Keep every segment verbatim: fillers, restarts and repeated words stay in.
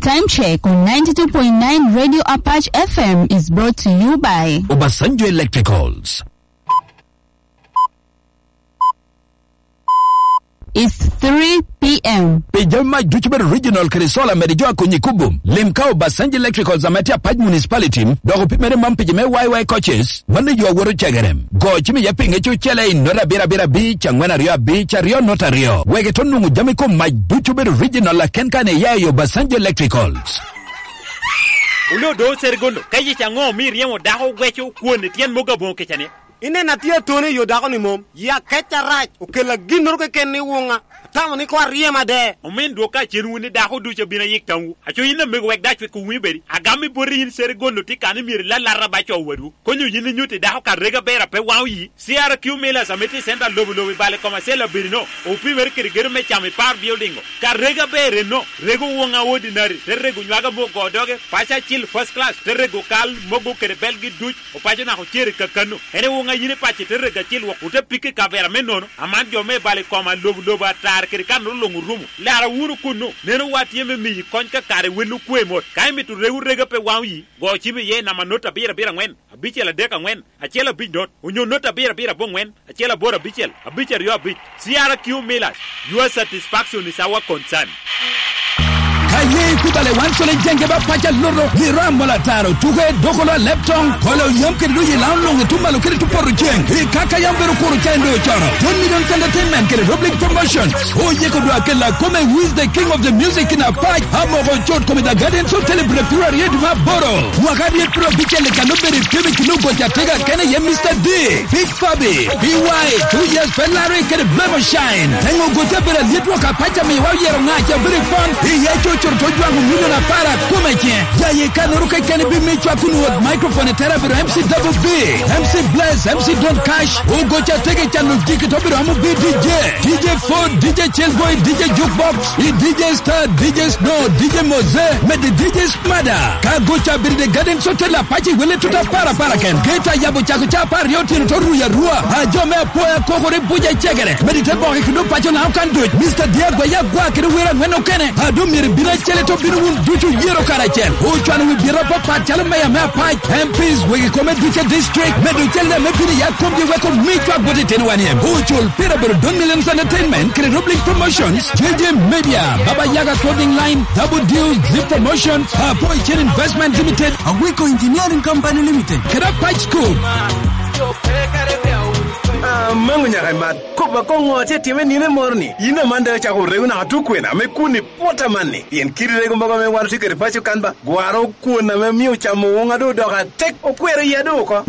Time check on ninety-two point nine Radio Apache F M is brought to you by Obasanjo Electricals. It's three p.m. Pi jami mac ducu bedo original kede solar mede jo a konyi kubum, lim ka Obasanjo Electricals ame tye Apac Municipality, dok opimere man pi jo me Y Y coaches, mano yo awoto cegere. Go cim iye pinge cucele i nota abiro abiro abic, angwen aryo abic, aryo nota aryo. Wek ito nwoŋo jami kom mac ducu bedo original aken kan iya i Obasanjo Electricals. Oloo do Serigondo, ka yic aŋo omi iryemo dako weco kwon i tyen mogo aboŋo kica-ni? Ineno atye atoni i yo dako-ni mom, ya kec arac, okella ginnoro keken ni wuŋa, atamo ni koŋ aryem ade. Omin dwok ka cen wun ni dako ducu abino ayik tamwu. Aco yin amego wek dac wek owumi bedi. Agam i boti yin Serigondo tye kan ni myero ilalata ba co wadwu. Konyo yin inyutti dako ka rega ber a pe waŋ oyi. C R Q Millers ame tye i center lobo lobo i bale kom acel abedi no, opimere kede gedo me camo i par building-o. Ka rega ber enno, rego woŋa ordinary, te rego nywaga mogo doge, paco acil first class, te rego kal mogo kede belgi duc, opaco naka ocer i kakano. En i woŋa yin i paco te rego acil wok, ote pike i kavera me nono, aman jo me bale kom a lobo lobo atar kede kanoro luŋ orumo. Lara wunu kunnu, neno wa tye me miyi kony ka kare wel okwe mot. Ka imito rego rega pe waŋ oyi, go cim iye i namba not abiro abiro aŋwen, abicel adek aŋwen, acel abic not, onyo not abiro abiro aboŋwen, acel aboro abicel, abic aryo abic. C R Q Millers, your satisfaction is our concern. Ka ye ikubale wan cwale jenge ba paca loto, i ram mola taro, tuke, dokolo a leptong, kolo yam kede doji lao noŋ i tum malo kede tum poto ceng. I kaka yam bedo kuro ca en doŋ ocono. Twenty Millions Entertainment kede Roblic Promotion. Oyeko dwa kela kome with the king of the music in Apac, Amoko Cot kome the Gardens Hotel i Bulek Piru Aryo i dwe me aboro. Mwaka aryo piru abicel i kano bedo i pim i kino goca tega kene ye Mister D, Big Fabi, B Y, Two Years Ferrari kede Blemo Shine. Engo goca bedo alyet wok apac amiwa oyero ŋac a bedo i pon, i ye cocoro to jwaŋo milion apar a kome ce. Ya ye kanoro kekeni bi mi cwak kun wot microphone i tera bedo M C Double B, M C Bless, M C Don Cash, ogoca tege cano jiki to bedo amo bi D J. D J Ford, D J Chillboy, D J Jukebox, i D J Star, D J Snow, D J Moze, mede D J Smada. Ka goca bedo i Garden Hotel apac i wele tuta para para ken. Geta yabo cako ca apar aryo otyeno to ruyo arua. A jo me apoya kokore buca i cegere. Mede te boke kede opaco na okan duc. Mister Diego Yagwa kede wero aŋwen okene. A doŋ myero ibino acel to bino wun ducu yero karacel. Ocwano wi bita apapat calo meya me apac, M Ps, wegi kome duce district, medo cel me bino ya komgi weko mi cwak bot itino wan iem. Ocul pira bedo Don Millions Entertainment, kede Roblic Promotions, J J Media, Baba Yaga Clothing Line, Double Deal, Zip Promotions, Apo Chen Investment Limited, Awiko Engineering Company Limited, kede Apac School. Ah, mango nyaka imat. Kop akoŋo atye time nino moro ni? Yin aman daŋ acako rego naka tukwena me kun i pwota man ni. Pien kidi rego mogo ame wan otye kede paco kan ba, gwaro kwon ame mio camo woŋa doŋ odoko atek, okwero iya doŋ oko.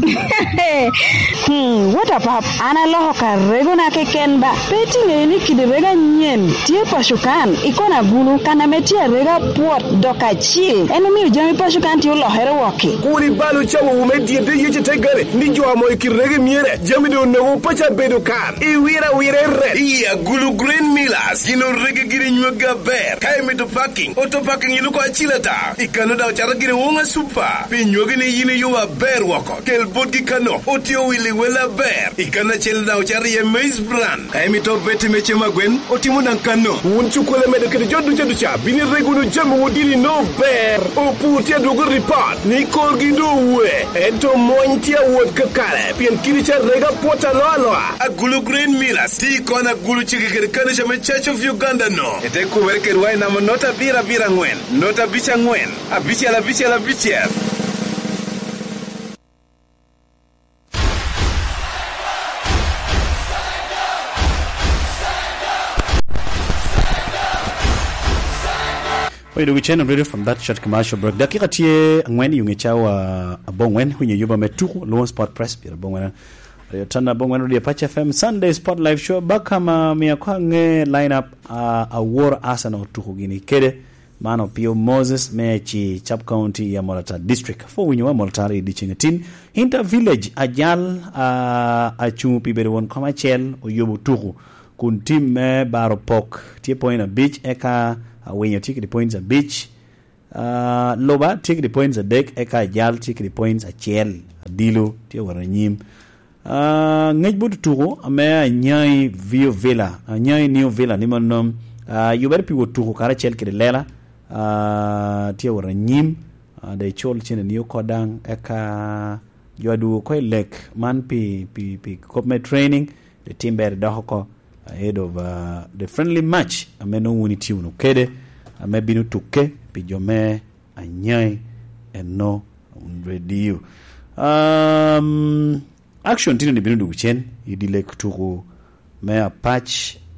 Hmm, what a pap. An aloko ka regona keken ba. Pe itiŋeyo ni kidi rego anyen tye paco kan, i kona gulu, kan ame tye arega pwot dok acil. En omio jami paco kan tye olokere wokki. Kur ibal ocawowu me dyedde yece te gare, ni jo amo i kidi rego myere, jami doŋ onogo paco abedo kan. Iwiro awira i ret. I Agulu Grain Millers, gin orege giri nyweggi aber. Ka imito parking, auto parking iluko acil ata. I kano daŋ ocato giri Wonga Super. Pi nywegi ni yin iyubo aber woko. Kel botgi kano, otye owili wel aber. I kano acel daŋ ocato iye Maize Bran. Ka imito beti me cem agwen, otimo daŋ kano. Wun cukwele medo kede jo duca duca, bino irego wunu jamiwu dini no ber. Opur tye adwogo ripot ni korgi doŋ owe, ento mony tye awot kakare, pien kidi ca rega pwot aloa aloa. Agulu Grain Millers tye i kona Gulu cege kede kanica me Church of Uganda no. Ete kubere kedwa i namba not abiro abiro aŋwen, not abic aŋwen, abicel abicel abicel. Oyo dog channel radio from that short commercial break. Dakika tye aŋwen i ŋe cawa aboŋwen, winyo yuba me tuku, Luo Sport Press, pira aboŋwen. Aryo tan aboŋwen radio Apache F M Sunday Sport Live Show. Baka ma miya kwa ŋe line up, ah, awor Arsenal tuku gini kede. Man Opio Moses me Aci Sub County i Amolatar District. Apwoo winyowa Amolatar i dyeceŋ atin. Inter Village ajal, ah, acuŋ pi bedo won kom acel oyubo tuku. Kun tim me Baro Pok tye point abic, eka Awinyo tye kede points abic. Ah, Luba tye kede points adek, eka Ajal tye kede points acel. Adilo tye wot anyim. Ah, ngec bot otuko ame Anyai View Villa, Anyai New Villa ni mano, ah, yubere pi wot tuko karacel kede lela, ah, tye awot anyim, ah, dok icul cene ni oko daŋ, eka jo adwogo oko i lek man pi, pi, pi kop me training, dok tim ber idok oko ahead of, ah, the friendly match ame nwoŋo wun itye wunu kede, ame bino tukke pi jo me Anyai eno radio. Um, action tino ni bino dwogo cen i dye lek tuku me Apac,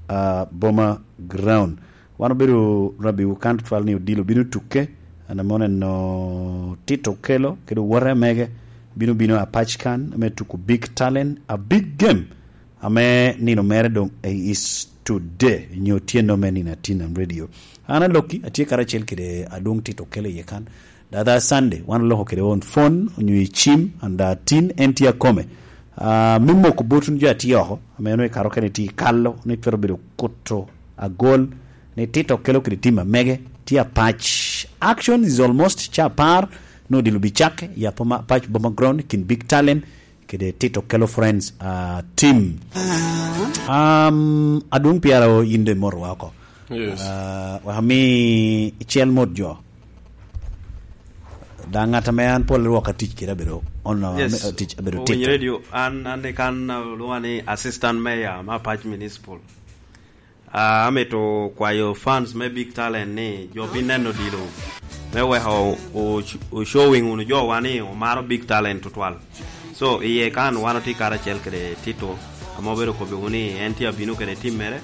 uh, Boma Ground. Wan obedo rabbiwu kan twal ni odilo bino tukke, an ame oneno Tito Okello kede owote mege bino bino Apac kan me tuku Big Talent, a big game ame nino mere doŋ is today, nyo tyenno me nino atin am radio. An Aloki, atye karacel kede adwoŋ Tito Okello iye kan. Dada Sunday, wan oloko kede on phone, onyo i cim, and, uh, tin, en tye akome. Ah, me moko bot wun jo atye oko, ame onwoŋo i kare okene tye i kalo, ni twero bedo kuto agol, ni Tito Okello kede tim amege, tye Apac. Action is almost ca apar, nwoŋo odilo bicakke, i Apoma-, Apac Boma Ground, kin Big Talent, kede Tito Okello Friends, ah, team. Um, adwoŋ piara o in de mot wa oko. Yes. Ah, wek ami cel mot jo. Da ŋat ame an pol rwok atic kede abedo, ono, Yes. ame, tic abedo Owinyo Tito. Radio, an, an ni kan, uh, lwonga ni Assistant Mayor ma Apac Municipal. Ah, amito kwayo fans me Big Talent ni jo bin neno odilo me weko o, o, o showing wunu jowa ni omaro Big Talent tutwal. So, iye kan wan otye karacel kede Tito, ame obedo kobbiwu ni en tye abino kede tim mere.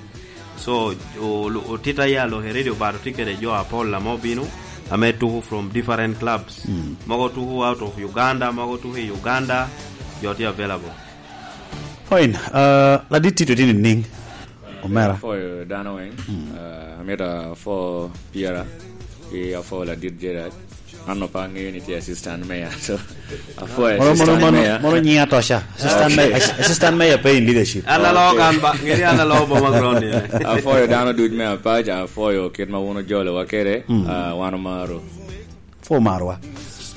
So, o, o, Tito aye aloke radio but otye kede jo apol ame obino, ame tuku from different clubs. Mm. Mogo tuku out of Uganda, mogo tuku i Uganda, jo tye available. Fine. Uh, ladit Tito tye nining? Omera. Apwoyo dano weng. Mm. Uh, amito apwo Piera ki apwo ladit Gerard. An opa ŋeyo ni tye assistant mayor. So, apwoyo Mono, mono, assistant mono, mayor. Mono nyiŋ atoca. Assistant Okay. mayor, ass-, assistant mayor pe in leadership. An alo Okay. kan ba, ngeri an alo Boma Ground ni. Apwoyo dano duc me Apac, apwoyo kit ma wun ojolowa kede, Mm. uh, wan omaro. Apwoyo marwa.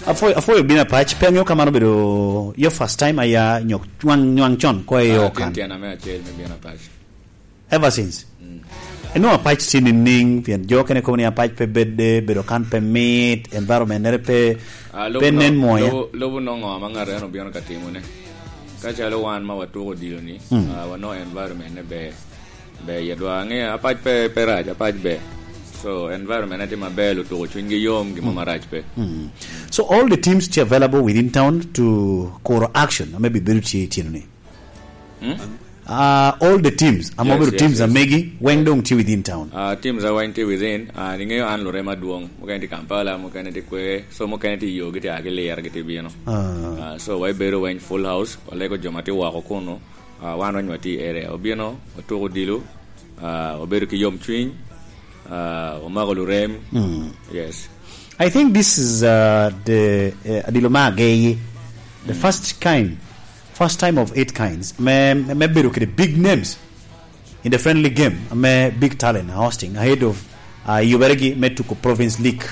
Apwoyo, apwoyo bino Apac, pe aŋeyo ka man obedo your first time aya nyo nwaŋ, nwaŋ con ko i Ah, okan. Tyen tyen ame acel me bino Apac. Ever since. Mm. Eno Apac tye nining, pien jo kene kobo ni Apac pe bedde, bedo kan pe mit, environment nere pe, Ah, lobo pe no-, nen mwonya. Lobo, lobo nongo ame ŋat en obino ka timone. Ka calo wan ma watuko odilo ni, Mm. ah, wano environment ne ber. Ber yedwa. Ŋe, Apac pe, pe rac, Apac ber. So, environment ne tye maber, lutuko cwinygi yom, gin mo Mm. marac pe. Mm. So, all the teams tye available within town to kuro action, ame bi bedo tye i tyeno ni? Hmm? Ah, all the teams, ame Yes, obedo yes, teams yes. amegi, weng Yeah. dong tye within town. Ah, teams a weng tye within, ah, niŋeyo an lurema adwoŋ. Mukene tye Kampala, mukene tye kwe, so mukene tye i yo, gitye a giliro, gitye bino. Ah. Ah, so, wa ibedo weng full house, walego jo ma tye woko kunu. Ah, wan weng watye i area. Obino, otuko odilo, ah, obedo ki yom cwiny, ah, omako lurem. Mm. Yes. I think this is, uh, the, uh, adilo me ageyi. The Mm. first kind, first time of eight kinds. Me, me, me bedo kede big names in the friendly game. Me Big Talent hosting ahead of, uh, yuberegi me tuko Province League.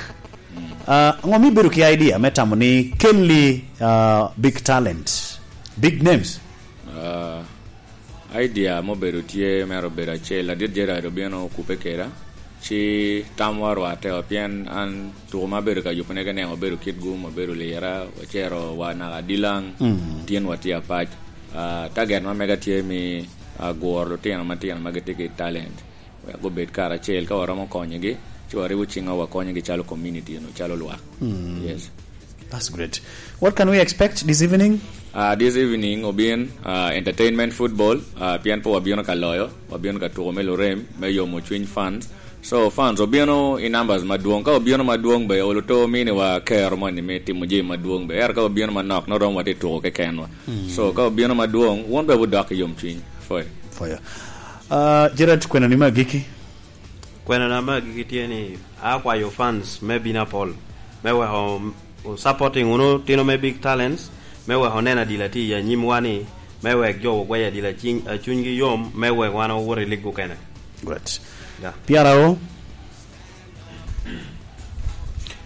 Mm. Uh, ŋo mi bedo ki idea me tamo ni kelli, uh, Big Talent, big names? Ah, idea mobedo tye mere obedo acel, ladit Gerard obino okubbe keda, ci tamwa orwatte o, pien an tuko ma abedo ka yubone ka neno obedo kit gum, obedo lira, ocero wa naka Dilaŋ, Mm. tyen wa tye Apac. Ah, target ma mega tye mi, ah, guro lutino matino ma gitye ki talent. Wek gubed karacel, ka waromo konyogi, ci wariwo ciŋwa wakonyogi calo community, no, calo lwak. Mm. Yes. That's great. What can we expect this evening? Ah, this evening obin, ah, entertainment football, ah, pien pe wabino ka loyo, wabino ka tuko me lurem, me yomo cwiny fans. So, fans obino i numbers madwong. Ka obino madwong be, olo to mini wa kero moni me timo jami madwong be. Ento ka obino manok, no romo watye tuko kekenwa. Mm. So, ka obino madwong, wun be wudok i yom cwiny. Foyo. Foyo. Ah, Gerard, kwenoni me agikki? Kwenona me agikki tye ni, akwayo fans me bino apol, me weko o supporting wunu tino me Big Talents, me weko onen adila tye i anyimwa ni, me wek jo ogwec adila ciny-, a cunygi yom, me wek wan owot i lig okene. Great. Yeah. Piara o?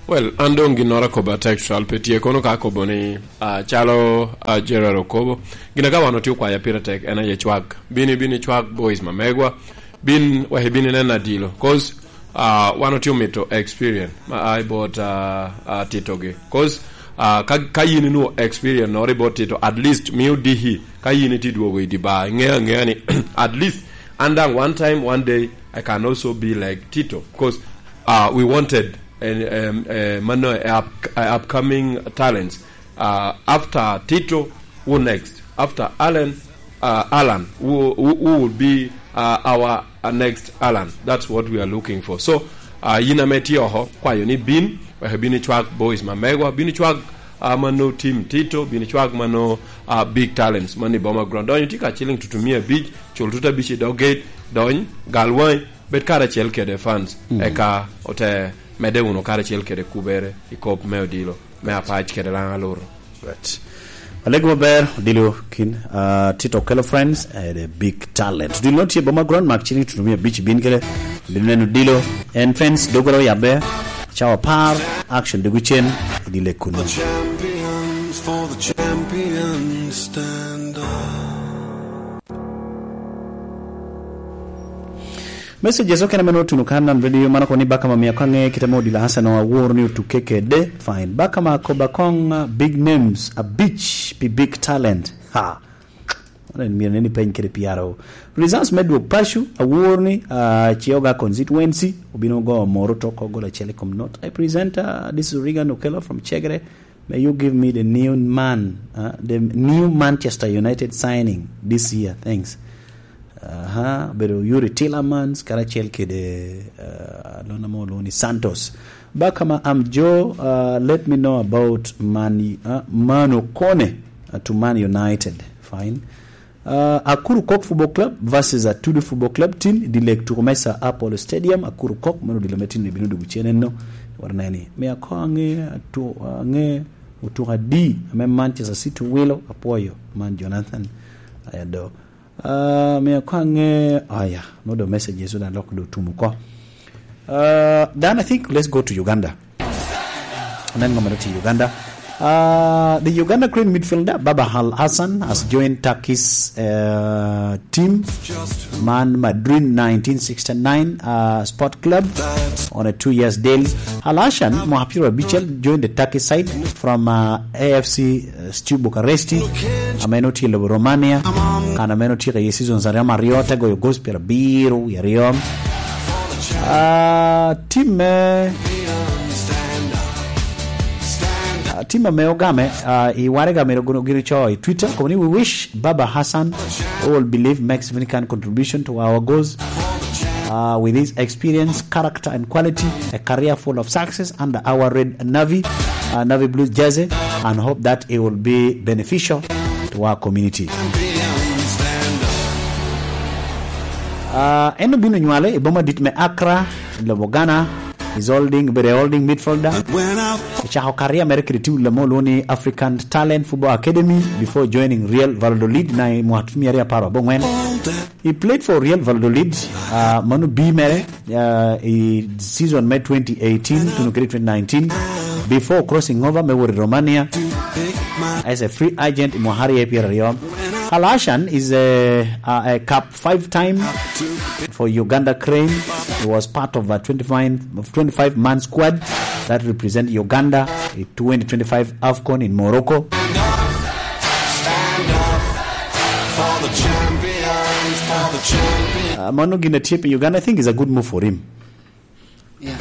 Well, an doŋ ginnoro akobo atek cwal pe tye kono ka akobo ni, ah, calo, ah, Gerald okobo, gin aka wan otye okwaya pire tek en aye cwag. Bini, bini cwag boys ma megwa, bin, wek ibin inen adilo. 'Cause Uh, wan otye omito experience ma a i bot, uh, uh, Tito gi. 'Cause, uh, ka, ka yin inwo experience noro i bot Tito, at least mio dihi ka yin itye dwogo i di bar, iŋeo aŋea ni at least and then one time, one day, I can also be like Tito. 'Cause, uh, we wanted an, um, uh, mano, uh, up, uh, upcoming talents. Uh, after Tito, who next? After Alan, uh, Alan, who, who, who will be, uh, our, uh, next Alan? That's what we are looking for. So, uh, yin ame tye oko, kwayo ni bin, wek bin icwag boys ma megwa, bin icwag, uh, mano team Tito, bin icwag mano, uh, big talents, mano i boma ground. Donyo tye ka ciling tutumia abic, cul tuta abic i dog gate, dony, gal wangi, bed karacel kede fans, mm, eka ote medde wunu karacel kede kubere i kop me odilo me apac kede laŋ alur. Right. Alego maber, odilo kin, uh, Tito Okello Friends, eh, the big talent. Odilo no tye boma ground, mak cini tutumia abic bin kede, odilo neno odilo, en fans dogoro yabbe, cawa par, action degu cen, odilo e kuno. The champions for the champions stand up. Message okene meno otuno kan nan radio mano koni baka ma mia kange kita mo dila Hassan o awor ni otuke kede. Fine. Baka ma koba kong, uh, big names, a beach, pi big talent. Ha. Ano en mira neni peny kede piaro. Results me dwok pacu, awor ni, uh, Chioga constituency, obino go moro toko gola chele kom not. I present, uh, this is Regan Okello from Chegre. May you give me the new man, uh, the new Manchester United signing this year. Thanks. Aha, bedo Yuri Tillermans, karacel kede, uh, lona mo loni Santos. Bakama, I'm Joe, uh, let me know about Man, uh, Mano Kone, uh, to Man United. Fine. Uh, Akuru Kok Football Club versus Atudu Football Club team, di lek tuko me Sir Apollo Stadium, Akuru Kok, mano dilo me tin ni bino dugu cene no. Wara neni. Me ako ange, atu, ange, utuka di, ame Manchester City wilo, apoyo, man Jonathan, ayado. Uh, me ako ange, aya, no do message yesu dan lok do tumu ko. Uh, then I think let's go to Uganda. Anen ngoma ti Uganda. Uh, the Uganda Crane midfielder Baba Al Hassan has joined Turkey's, uh, team, Man Madrid nineteen sixty-nine, uh, Sport Club on a two years deal. Al Hassan, Mohapiro Bichel, joined the Turkey side from, uh, A F C, uh, Steaua Bucharest. Ameno tye lobo Romania. Kan ameno tye ka ye season sa ryo maryo, te goyo gospel abiro, ya ryo. Ah, tim me, ah, tim ame ogame, ah, i waraga mere gin, gin co i Twitter, kono ni, "We wish Baba Hassan, who will believe makes significant contribution to our goals, ah, with his experience, character and quality, a career full of success under our red navy, uh, navy blue jersey, and hope that it will be beneficial to our community." Ah, en obino nywale i boma dit me Accra, i lobo Ghana, is holding, bedo a holding midfielder. Ecako career mere kede tim lamo lwongo ni African Talent Football Academy before joining Real Valladolid na i mwaka tye mia aryo apar abongwen. He played for Real Valladolid, ah, mano bi mere, ah, i season me twenty eighteen tuno kede twenty nineteen, before crossing over me wot i Romania as a free agent i mwaka aryo pyeraryo. Al Hassan is a, a, a cup five time for Uganda Crane. He was part of a twenty-five, twenty-five man squad that represent Uganda in twenty twenty-five AFCON in Morocco. Uh, mano gin atye pi Uganda, I think is a good move for him. Yeah.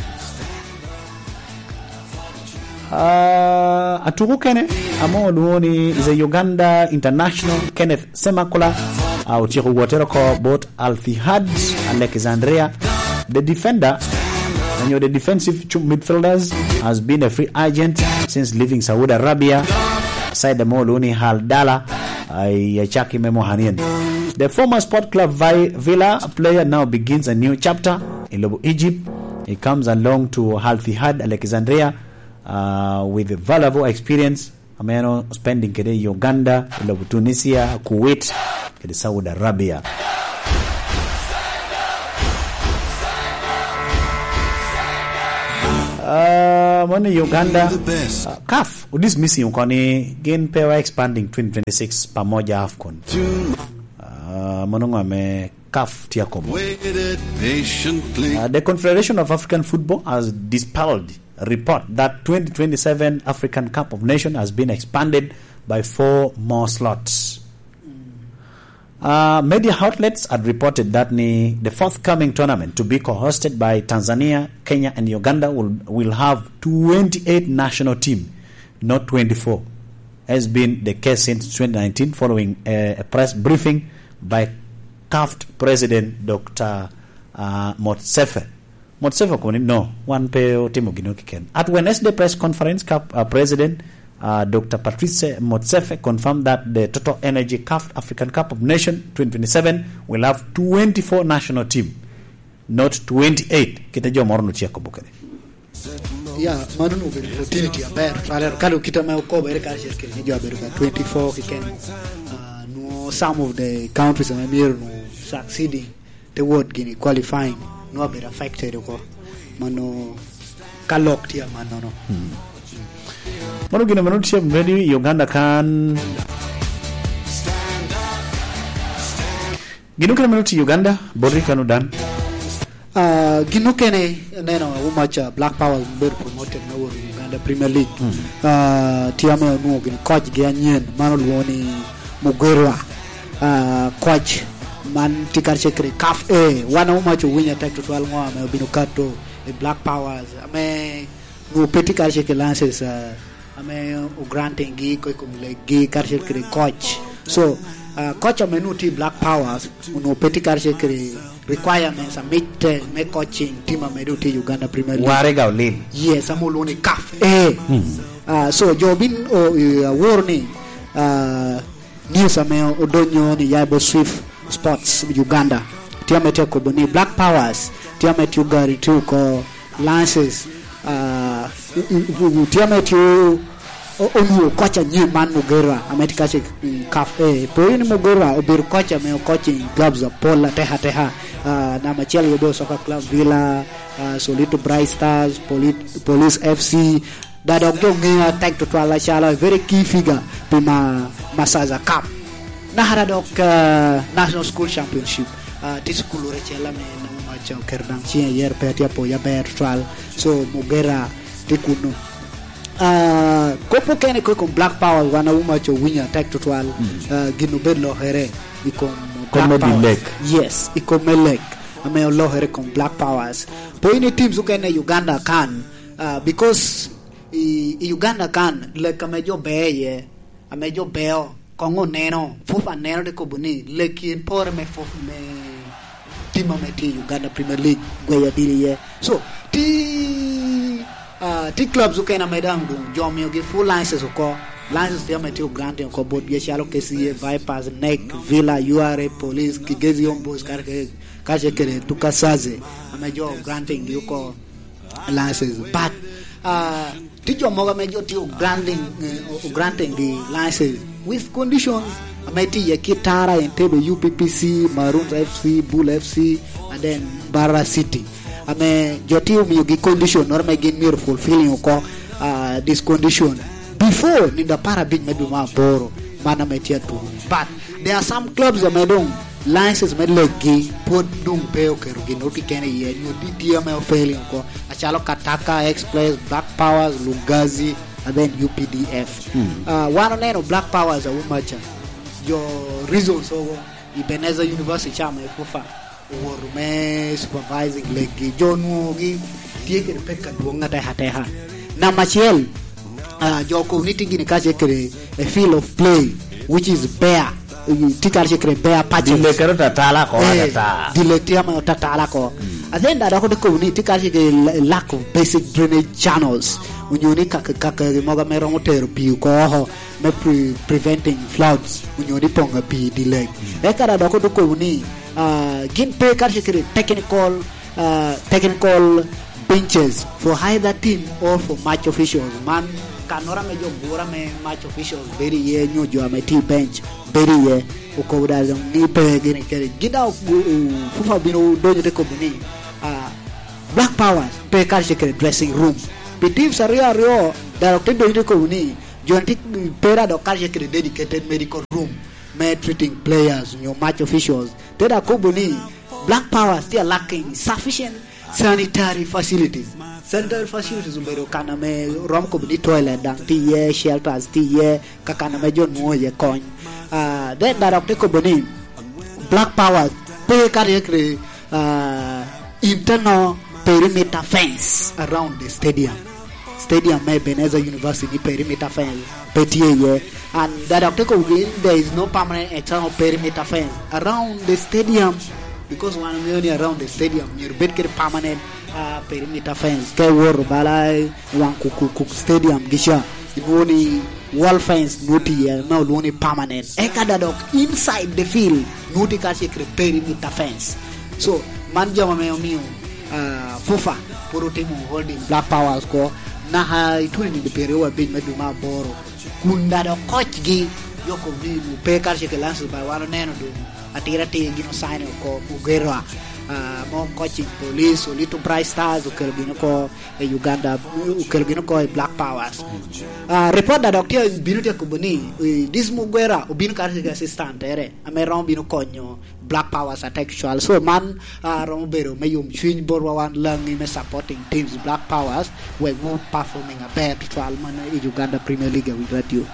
Uh, atuko kene, amo olwongo ni is a Uganda international, Kenneth Semakula. Uh, otyeko wotere oko bot Al Ittihad Alexandria. The defender, onyo the defensive chu-, midfielders, has been a free agent since leaving Saudi Arabia. Side mo luni Al Dala, ay, ay, chaki me mohanien. The former Sport Club Vi-, Villa player now begins a new chapter in Lobo Egypt. He comes along to Al Ittihad Alexandria, uh, with valuable experience. Ameno spending kede Uganda, i lobo Tunisia, Kuwait, kede Saudi Arabia. Ah, mano i Uganda. The best. Ah, CAF, odismissing oko ni gin pe wa expanding twenty twenty-six pamoja AFCON. Ah, mano ngo ame CAF tye akobo. Waited patiently. Uh, the Confederation of African Football has dispelled report that twenty twenty-seven African Cup of Nations has been expanded by four more slots. Uh, media outlets had reported that ni the forthcoming tournament to be co-hosted by Tanzania, Kenya, and Uganda will, will have twenty-eight national team, not twenty-four, has been the case since twenty nineteen following a, a press briefing by CAF President Doctor, uh, Motsefe. Motsefe okobo ni, "No, wan pe otimo gino kiken." At Wednesday press conference, CAF, uh, President, uh, Doctor Patrice Motsefe confirmed that the Total Energy CAF African Cup of Nations twenty twenty-seven will have twenty-four national team, not twenty-eight, kite jo moro no tye akobo kede. Ya, mano onwoŋo obedo opportunity aber, twalero ka dok kite ame okobere karacel kede ni jo abedo ka twenty-four keken. Ah, nwoŋo some of the countries ame myero nwoŋo succeeding toward gini qualifying, nwoŋo abedo affected oko. Mano ka lok tye amannono. Hmm. Mano gin ame nwoŋo tye ready i Uganda kan. Gin okene meno tye i Uganda, boti kano dan? Ah, gin okene, neno, Awumac, ah, Black Powers obedo promoted me wot i Uganda Premier League. Mm. Ah, tye ame onwoŋo gin coach gi anyen, man olwoŋo ni Mugerwa. Ah, coach man tye karacel kede CAF A. Wan Awumac owinyo atek tutwal ŋo ame obino kato i Black Powers, ame nwoŋo pe tye karacel kede license, ah, ame ogranting gi oko i kom leggi karacel kede coach. So, ah, coach ame nwoŋo tye i Black Powers, onwoŋo pe tye karacel kede requirements a mitte me coaching team ame doŋ tye i Uganda Premier League. Warega olil. Yes, ame olwoŋo ni CAF A. Hmm. Ah, so, jo bin, o, i, aworo ni, ah, news ame odonyo ni ya i bot Swift Sports Uganda, tye ame tye akobo ni Black Powers tye ame tye ogarantee oko license, ah, i, i, i, tye ame tye o-, o-, onwoŋo coach anyen man Mugerwa, ame tye kace i CAF A. Pwod ni Mugerwa obedo coach ame o coaching clubs apol atek ateka. Ah, namba acel aye obedo Soccer Club Villa, ah, Solito Bright Stars, Poli-, Police F C, da dok jo ŋeo atek tutwal acalo a very key figure pi ma-, Masaza Cup. Naka dok, ah, National School Championship, ah, tye cukul acel ame nwoŋo maca oketo daŋ ciŋe iye, pe atye apoyo aber tutwal. So, Mugera tye kunnu. Ah, kop okene ko i kom Black Power, wan Awumac owinyo atek tutwal. Mm. Ah, gin obed lokere i kom Black Powers. Kom me Dilek. Yes, i kom me lek, ame olokere i kom Black Powers. Po in i teams okene i Uganda kan, ah, because i, i Uganda kan, lek ame jo beo iye, ame jo beo, koŋ oneno, FUFA neno te kobo ni, lek en pore me FUFA, me team ame tye i Uganda Premier League, gweyo odilo iye. So, ti, ah, ti clubs okene ame daŋ doŋ jo omiogi full license oko. License tye ame tye granting oko botgi acalo K C A, Vipers, NEC, Villa, U R A, Police, Kigezi Homeboyz, kare ke-, kacel kede Tukasaze, ame jo granting gi oko license. But, ah, tye jo mogo ame jo tye granting, eh, o-, granting gi license with conditions ame tye iye kit Tara, Entebbe, U P P C, Maroons F C, Bull F C, and then Mbarara City. Ame jo tye omiogi condition noro ame gin myero fulfilling oko, ah, this condition before nindo apar abic me dwe me aboro, man ame tye atwon. But there are some clubs ame doŋ license me leggi pwod doŋ pe oketo gin oko keken iye, nyo di tye ame ofailing oko, acalo Kataka, Express, Black Powers, Lugazi, and then U P D F. Hmm. Ah, wan oneno Black Powers Awumaca, jo reasons ogo, Ebenezer University ca me FUFA owoto me supervising leggi, jo onwoŋogi tye kede pek adwoŋ atek ateka. Namba acel, ah, jo community gini kacel kede a field of play, which is bare, tye kacel kede bare patches. Dile kede tatala ko, eh, atata. Dile tye ame otatala ko. Mm. And then da dok ote kobo ni tye kacel kede la-, lack of basic drainage channels. Onyo ni kaka, kaka mogo ame romo tero pii oko oko me pre-, preventing floods, onyo ni poŋ a pii i dile. Mm. Eka da dok ote kobo ni, ah, gin pe kacel kede technical, ah, technical benches for either team or for match officials. Man kannoro ame jo gure ame match officials bedo iye, nyo jo ame tye i bench bedo iye, okobo da doŋ ni pe gin kede. Gin da o-, o-, FUFA obino donyo te kobo ni, ah, Black Powers pe kacel kede dressing room. Pi teams aryo aryo, da dok te donyo te kobo ni, jo tye pe da dok kacel kede dedicated medical room me treating players, nyo match officials. Te dok kobo ni Black Powers tye lacking sufficient sanitary facilities. Sanitary facilities obedo kan ame rom kobo ni toilet daŋ tye iye, shelters tye iye, ka kan ame jo nwoŋo iye kony. Ah, then dok te kobo ni Black Powers pe ka ryekre, ah, internal perimeter fence around the stadium. Stadium me Ebenezer University ni perimeter fence pe tye iye. And that dok te kobo ni there is no permanent external perimeter fence around the stadium, because wan oŋeo ni around the stadium myero bed kede permanent, ah, perimeter fence. Ka iwoto bala i waŋ Kuk, Kuk, Kuk Stadium gica, inwoŋo ni wall fence nwoŋo tye iye, ame olwoŋo ni permanent. Eka da dok inside the field, nwoŋo tye kacel kede perimeter fence. So, man jami ame omio, ah, FUFA pwod otimo holding Black Powers ko, naka i twenty twenty-three wa abic me dwe me aboro. Kun da dok kocgi, jo kobo ni nwoŋo pe kacel kede license, ba wan oneno doŋ atira atir gin osign oko, Mugera, ah, mo coaching police, Olito Bright Stars, okelo gin oko i Uganda, okelo gin oko i Black Powers. Ah, report da dok tye, bino tye kobo ni, eh, this Mugera obino kacel kede assistant tere, ame romo bino konyo Black Powers atek cwal. So man, ah, romo bedo me yom cwiny botwa wan Langi me supporting teams Black Powers, wek wu performing aber tutwal man i Uganda Premier League awi radio.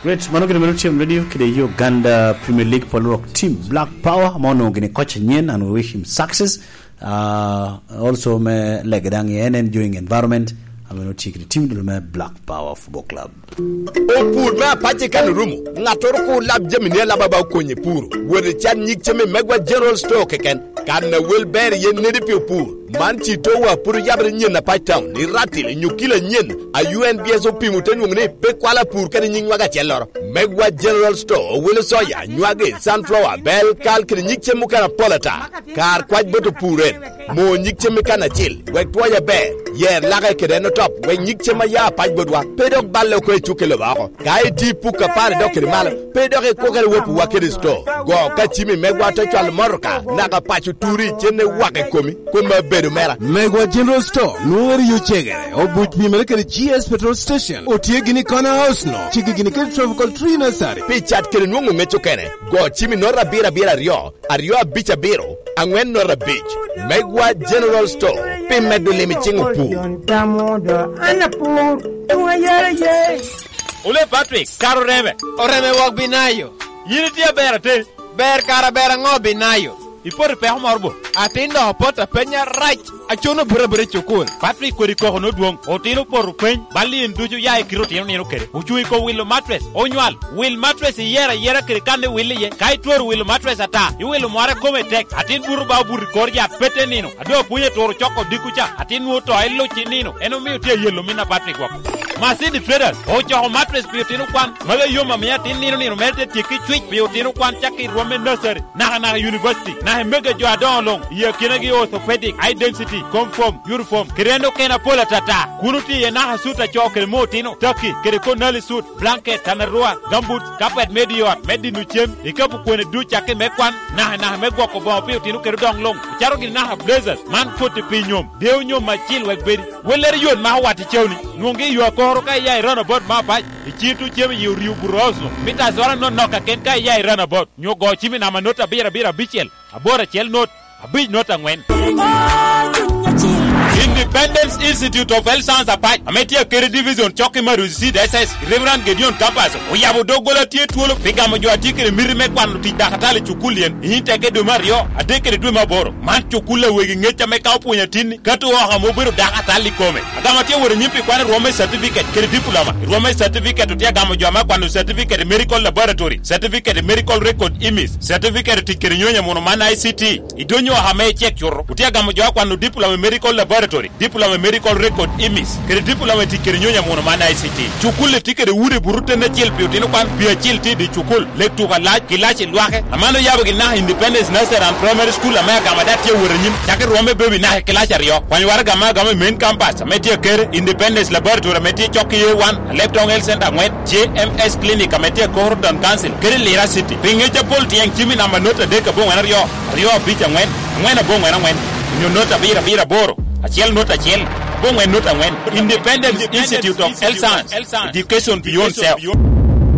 Great, mano gin meno T M radio kede Uganda Premier League, pol rok team Black Power, ma onwoŋo gini coach anyen, and we wish him success. Ah, also me lege daŋ i N N Joing Environment, ame onwoŋo tye kede team dul me Black Power Football Club. Opur me apac i kan orumo, ŋattoro kur lab jami ni alaba ba okonye puro. Wot i can nyig cem i Megwa General Store keken. Kan a wel ber iye nedi pi opur. Man ci towa pwod oyabere nyen apac town, i Ratil, i Nyukila nyen, a U N B S opimo te nwoŋo ni pe kwalo apur kede nyiŋ nwaga acelloro. Megwa General Store owelo soya, nywagi, sunflower, bel, kal kede nyig cem mukene apol ata. Kar kwac bot opur en. Mo nyig cem i kan acil, wek twoye aber. Yer lake kede en otop, wek nyig cem a ya apac botwa pe dok balle oko i cukke loba oko. Ka iti puk apar idok kede malo, pe dok ikwokere wopiwa kede sto. Go ka cimi megwa te cwalo motoka, naka paco turi, cen iwako i komi, koma bedo mera. Megwa General Store, nwoŋere yo cegere, obuc pimere kede G S Petrol Station, otye gini i corner house no, cigi gini kede Tropical Tree Nursery. Pi cat kede nwoŋo ŋec okene, go cimi nota abiro abiro aryo, aryo abic abiro, aŋwen nota abic. Megwa General Store, pi medo lim i ciŋ opur. An apur, tuŋ ayara ye. Ole Patrick, kara oreme. Oreme wok Binayo. Yin itye aber atir. Ber kara ber aŋo Binayo? Ipoto i peko moro bo? Atin dok apoto apenya rac. Acono buto abuta i cukul. Patrick kodi koko nodwoŋ. Otino opoto peny. Bal in ducu ya i kite otino nino kede. Ocuŋ i kom wilo matres. Onywal. Wil matres iyero ayera kede kan iwil iye. Ka itwero wilo matres ata, iwilo mware kome tek. Atin buto ba obuto i kor yat pete nino. A doŋ apwony aturo coko odiko ca, atin nwoŋo to eluc i nino, en omio tye ayelo min apat i gwok. Masidi Traders ocoko matres pi otino kwan, magi yom amiyo atin nino nino mere te tyekki cwic pi otino kwan cakki i rwom me nursery, naka naka i university, naka i mege jo adoŋo luŋ, i akinagi orthopedic, high density, comb foam, uniform, kede en okene apol atata. Kun otye iye naka sut acoo kede mo otino, taki, kede konali sut, blanket, tanarua, gambut, kapet me di ot, me dino cem, ikapu kwene duc cakki me kwan, naka naka me gwoko boŋo pi otino kede odoŋ luŋ, ocaro gini naka blazers, man koti pi nyom, deo nyom acil wek bedi. Wellere yot ma owat i cewni, nwoŋgi i yo akoro ka iya i runabout me apac, i cito cem i orio buto oso, mita azora nonok kaken ka iya i runabout, nyo go cimi namba not abiro abiro abicel, aboro acel not, abic not aŋwen. Independence Institute of Health Science Apac, ame tye akeri division cok i Maruzi Seed S S, Reverend Gideon Kapaso, oyabo doggola tye twolo pi gamo jo a tye kede miti me kwano tic dakatali i cukul yen, i nyim teke dwe me aryo, adek kede dwe me aboro. Man cukul a wegi ŋec ame ka opwonyo atinni, kato oko ame obedo dakatali i kome. Agamo tye wot anyim pi kwano rwom me certificate kede diploma, rwom me certificate otye agamo jo ame akwano certificate i medical laboratory, certificate i medical record imis, certificate tic kede nyonyo muno man I C T. I dony oko ame icek cuto, otye agamo jo akwano diploma i medical laboratory, diploma i medical record imis, kede diploma i tic kede nyonyo amuno man I C T. Cukul-li tye kede udi buto ten acel pi otino kwan, pi acil tye i dye cukul, lek tuko alac, kilaci lwake. Aman oyabo gin naka Independence Nursery and Primary School ame agamo ada tye awot anyim, cakki rwom me baby naka i kilaci aryo. Kwany waraga ame agamo i main campus ame tye akere, Independence Laboratory ame tye cok ki A one, Alebtong Health Center aŋwen, J M S Clinic ame tye i Koro Town Council, kede Lira City. Pi ŋec apol tyeng cimi namba not adek aboŋwen aryo, aryo abic aŋwen, aŋwen aboŋwen aŋwen, onyo not abiro abiro aboro, acel not acel, aboŋwen not aŋwen. Independence Institute of Health Science, Education Beyond Self.